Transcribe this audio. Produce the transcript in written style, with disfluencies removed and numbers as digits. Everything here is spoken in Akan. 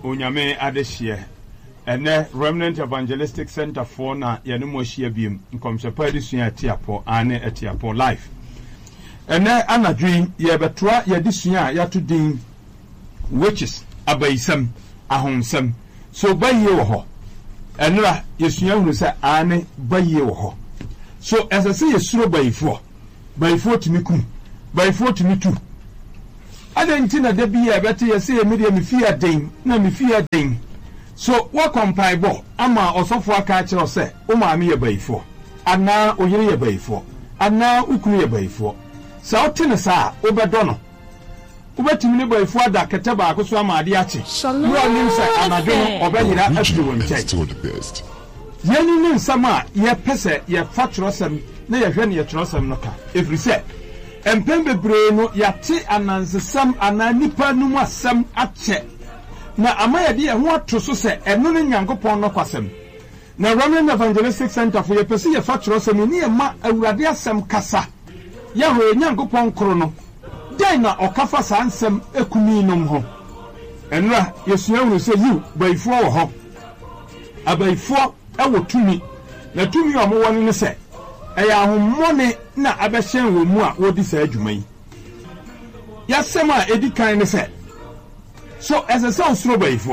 Onyame adehyeɛ. Ɛnnɛ Remnant Evangelistic Centre foɔ na yɛne mo ahyia biom, nkɔmhyɛ pa adesua a ɛte apɔ, aane ɛte apɔ, live. Ɛnnɛ anadwo yi yɛrebɛtoa yɛn adesua a yɛato din Witches, Abayisɛm, Ahonsɛm. So bayie wɔ hɔ? Ɛnnora yɛsua hunu sɛ aane bayie wɔ hɔ. So ɛsɛ sɛ yɛsuro bayifoɔ? Bayifoɔ tumi kum. Bayifoɔ tumi tu. Adɛn nti na da bi a ɛbɛte yɛ sɛ me deɛ me fie yɛ den na me fie yɛ den? So woakɔ mpaebɔ ama ɔsɔfoɔ aka akyerɛ wo sɛ wo maame yɛ bayifoɔ anaa wo yere yɛ bayifoɔ anaa wo kunu yɛ bayifoɔ? Sɛ wote no saa a, wobɛdɔ no? Wobɛtumi ne bayifoɔ ada kɛtɛ baako so ama adeɛ akye berɛ a ɔnim sɛ anadwo no ɔbɛyera afiri wo nkyɛn? Yeinom ne nsɛm a yɛpɛ sɛ yɛfa twerɛsɛm na yɛhwɛ neɛ twerɛsɛm no ka, ɛfiri sɛ mpɛn bebree no yɛate anansesɛm anaa nnipa anom asɛm akyɛ, na ama yɛde yɛn ho ato so sɛ ɛno ne Nyankopɔn nɔkwasɛm. Na Remnant Evangelistic Centre fo yɛpɛ sɛ yɛfa twerɛsɛm yi ne yɛma Awurade asɛm kasa. Yahweh yɛn Nyankopɔn koro no, dɛn na ɔka fa saa nsɛm akumin nom ho? Ɛnora yɛsua hunu sɛ yiw, bayifoɔ wɔ hɔ. Abayifoɔ wɔ tumi, na tumi a wɔwɔ no ne sɛ, ɛyɛ ahommɔne na abɛhyɛn wɔn mu a wɔredi saa dwuma yi. Y'asɛm a ɛdi kan ne sɛ, so ɛsɛ sɛ wosuro bayifoɔ?